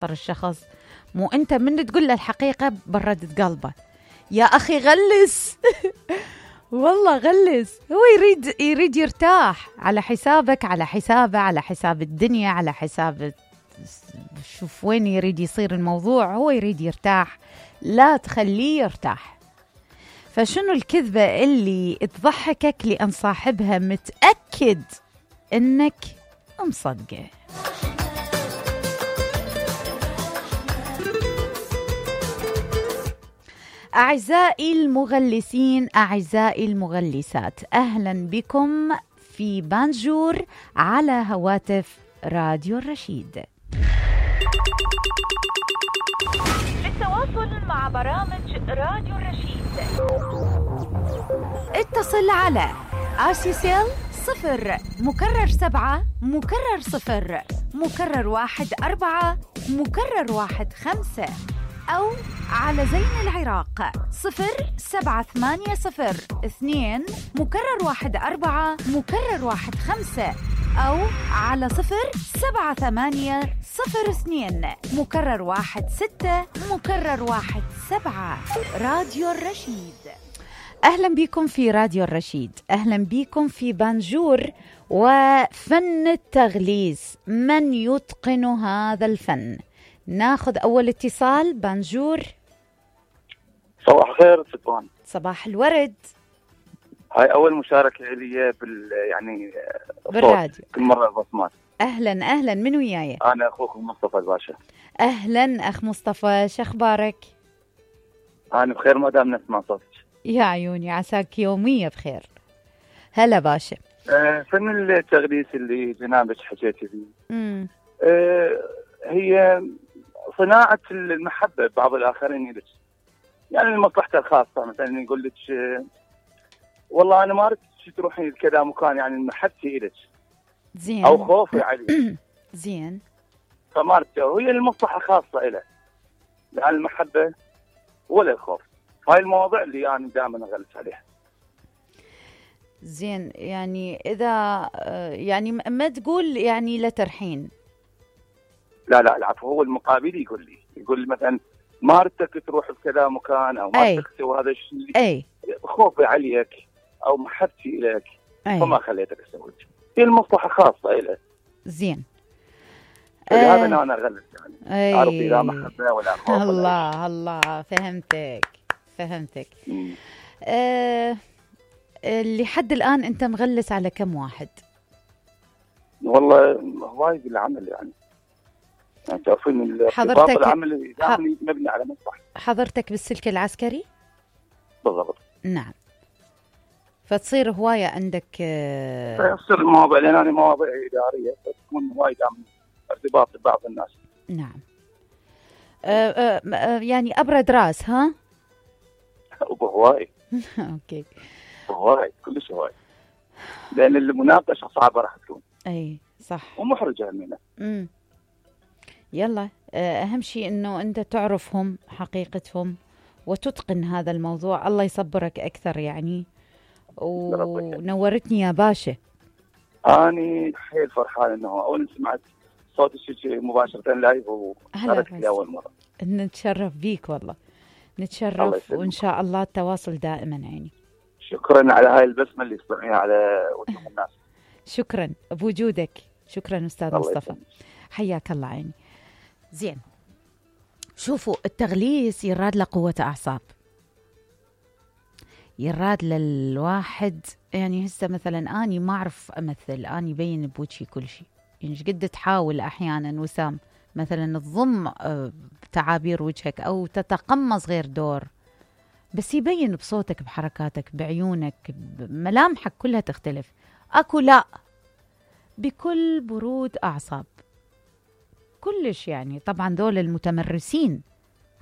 الشخص، مو أنت من تقول له الحقيقة بردت قلبه. يا أخي غلس والله غلس. هو يريد يرتاح على حسابك، على حسابه، على حساب الدنيا، على حساب شوف وين يريد يصير الموضوع. هو يريد يرتاح، لا تخليه يرتاح. فشنو الكذبة اللي تضحكك لأن صاحبها متأكد إنك مصدقه؟ أعزائي المغلسين، أعزائي المغلسات، أهلا بكم في بانجور على هواتف راديو الرشيد. للتواصل مع برامج راديو الرشيد اتصل على آسيسيل 0 مكرر 7 مكرر 0 مكرر 1 4 مكرر 1 5 أو على زين العراق 07802 مكرر 1 4 مكرر 1 5 أو على 07802 مكرر 1 6 مكرر 1 7. راديو الرشيد. أهلا بكم في راديو الرشيد، أهلا بكم في بانجور وفن التغليس. من يتقن هذا الفن؟ ناخذ أول اتصال. بانجور. صباح الخير فتوان. صباح الورد. هاي أول مشاركة لي بالراديو. كل مرة البصمات. أهلا أهلا، من وياي؟ أنا أخوكم مصطفى الباشا. أهلا أخ مصطفى، شخبارك؟ أنا بخير ما دام نسمع صوتك. يا عيوني، عساك يومية بخير. هلا باشا. فن التغليس اللي جنابك حكيتي فيه هي صناعة المحبة بعض الآخرين لك، يعني لمصلحته الخاصة. مثلا يقول لك والله أنا ما أردت تروحين لكذا مكان، يعني محبتي إلك زين أو خوفي عليك زين، فما أردت، وهي المصلحة خاصة إله، لا المحبة ولا الخوف. هاي المواضيع اللي أنا دائما أغلس عليها. زين، يعني إذا يعني ما تقول يعني لا ترحين. لا العفو، هو المقابل يقول لي مثلا ما ردتك تروح بكذا مكان او ما ردتك تسوي هذا الشيء، خوفي عليك او محبتي اليك فما خليتك تسوي. هي المصلحه خاصه له. زين، هذا انا اغلس يعني عرفي لا محبه ولا خوف. الله فهمتك. لحد الان انت مغلس على كم واحد؟ والله هواي بالعمل، يعني تعرفين الارتباط العمل مبني على مصلحة. حضرتك بالسلك العسكري؟ بالضبط. نعم. فتصير هواية عندك تصير المواضيع، لأن أنا مواضيع إدارية فتكون هواي دائما ارتباط ببعض الناس. نعم. يعني أبرد راس ها؟ وبهواي. أوكي. بهواي كلش هواي، لأن المناقشة صعبة راح تكون. أي صح. ومحرجة منها. يلا، أهم شيء أنه أنت تعرفهم حقيقتهم وتتقن هذا الموضوع. الله يصبرك أكثر يعني. ونورتني يا باشا. أنا حيل فرحان أنه أول سمعت صوتك مباشرة لايف وشاركت لي أول مرة. نتشرف بيك والله، نتشرف، وإن شاء الله التواصل دائما يعني. شكرا على هاي البسمة اللي تصنعيها على وجه الناس. شكرا بوجودك، شكرا أستاذ مصطفى، حياك الله عيني. زين، شوفوا التغليس يراد له قوة أعصاب، يراد للواحد يعني هسه مثلا أني ما أعرف أمثل، أني يبين بوجهي كل شيء، يعني قد تحاول أحيانا وسام مثلا تضم تعابير وجهك أو تتقمص غير دور، بس يبين بصوتك، بحركاتك، بعيونك، بملامحك كلها تختلف. أكو لا، بكل برود أعصاب كلش يعني. طبعا دول المتمرسين